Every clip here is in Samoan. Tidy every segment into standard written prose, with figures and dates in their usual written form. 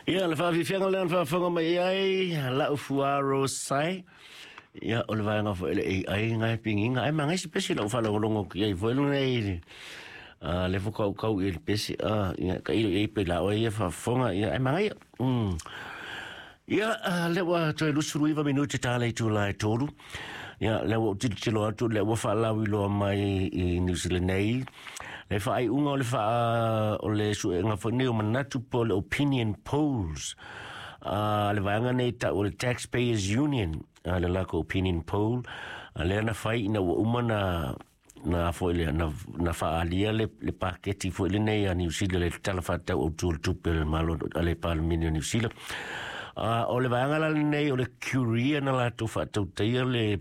Ia, le faafiafiaga lea na faafofoga mai ai lau fuaro sai. Ia, o le vaega foi le AI ngai pingiga. Ai mangai se pesi lau faalogologo ki ai foi lenei a le fokau i le pesi a ia ka ilo i pe la o ia faafofoga ia ai mangai. Ia, le ua toe 29 minute tā le itulā e 3. Ia, le ua tilotilo atu le ua faalauiloa mai i New Zealand nei le faaiuga o le faa o le suega foi nei o manatu po le opinion polls a le vaega nei tau o le Taxpayers Union, a le lako opinion poll a lea na fai ina ua uma na foi le na faaalia le paketi foi lenei a New Zealand, le tala faatatau autu o le tupe a le Malo a le Palemene o New Zealand. O le vaega la lenei o le Curia na latou faatautaia le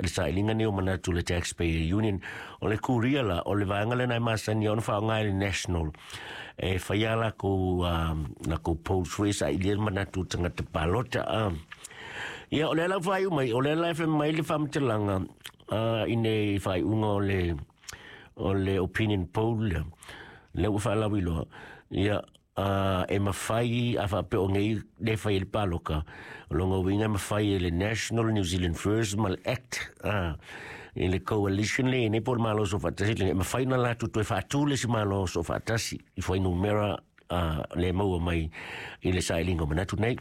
sailiga nei o manatu, le Taxpayer Union. O le Curia la, o le vaega lena e masani ona faaaoga e le National e faia lakou polls foi e sailia manatu o tagata palota. Ia, o lea lau faaiu mai, o lea la e fai mai le faamatalaga i nei faaiuga o le opinion poll lea, lea ua faalauiloa. Ia, e mafai a faapea o nei le fai e le paloka o longa uiga e mafai e le National, New Zealand First ma le ACT i le coalition le nei po le Malo Soofaatasi e mafai na latou toe faatū le isi Malo Soofaatasi i fuainumera le maua mai i le sailiga o manatu nei.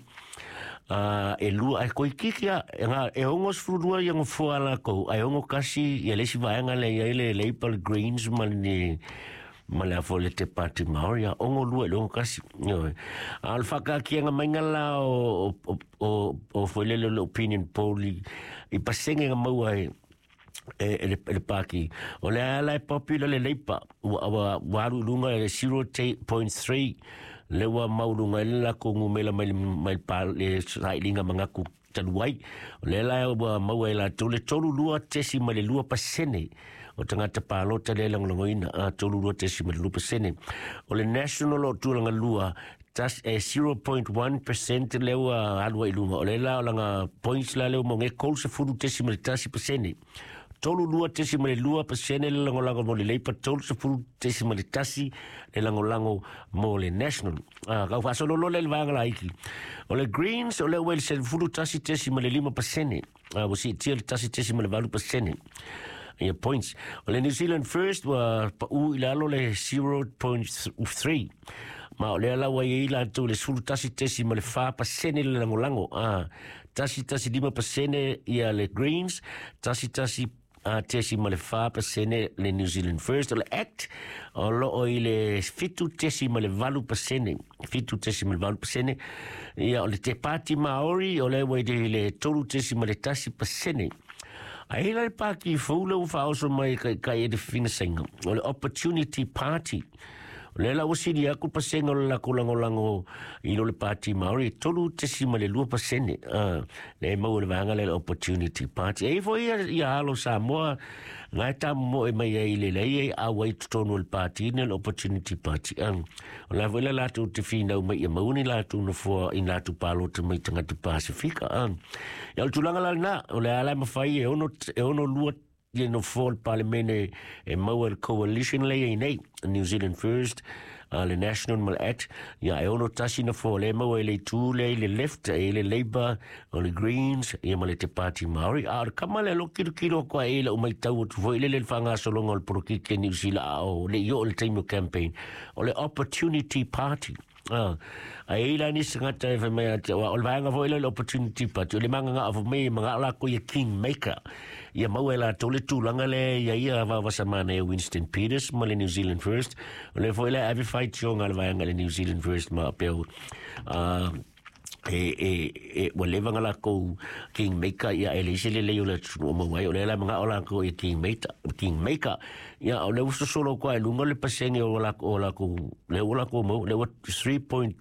E lua ai koikiki a e ngā e 62 ia nofoa lakou ae 61 ia le isi vaega lea i ai le Labour, le Greens ma le afo le Te Pāti Māori, a 62 i le 61. Ioe. A o le whakaakianga mainga la o foi lele o le opinion poll i pasenge nga maua e le paki. O le ala e popular le Labour, ua alu i luga e 0.3 le ua mauluga i le lakou numera mai le sailiga manatu talu ai. O le la ua maua e latou le 32.2% o tagata palota le lagolagoina, a 32.2%. O le National o tulaga lua tas e 0.1% le ua alu ai i luga. O le la o langa points la le ua maua e 31.1%. 32.2% le lagolago mo le Labour, 30.1 le lagolago mo le National. Ah, kau faasololo le vaega laiki. O le Greens o le ua i le 11.5%. Ah, ua siitia le 1.8% ia points. O le New Zealand First ua pau i lalo le 0.3. Ma o lea la ua i ai latou le 11.4% le lagolago. Ah, 1.5% ia le Greens, 11.4% le New Zealand First. O le ACT o loo i le 7.8%, 7.8%. Ia, o le Te Pāti Māori o le ua i le 3.1%. Ai la le pāti fou le ua faaoso mai kai kai e le fina sainga. O le Opportunity Party. O le la ua sili aku pasenga o le lako lagolago i lo le Pāti Māori, e 3.2%. Le maua le vaega le Opportunity Party. E ifo ia, ia alo Samoa, ngai tā mo e mai ai le lei e au ai totonu o le party ne le Opportunity Party. O la foi la latou te finau mai ia mauni latou nofoa i latou palota mai tagata Pasifika. Ia, o le tulaga la lena, o le ala e mafai e 62 ia nofoa o le Palemene e maua le coalition le i nei, New Zealand First, le National ma le ACT, ia e 61 nofoa le maua i le itu le i le left, e i le Labour, o le Greens, ia ma le Te Pāti Māori. A o le kama le lo kilo kilo kwa e la umai tau atu foi le le whangasologa o le polokiki New Zealand a o le i o le taimi o campaign, o le Opportunity Party. Ah, ai la ni sangata e fai mai ate o le vaega foi le Opportunity Party o le manga nga fo mai manga la ko ia king maker ia maua e latou le tulaga le ia ia vavasamana e Winston Peters ma le New Zealand First. O le foi le ave faitioga le vaega le New Zealand First ma peo e ua leva nga lakou king maker ia e le isi le lei o le atunuu maua ai o le la manga o lakou ia king maker, king maker. Ia, o le ua sosolo kwa e lunga le pasenge o lakou le ua lakou mau le ua 3.2.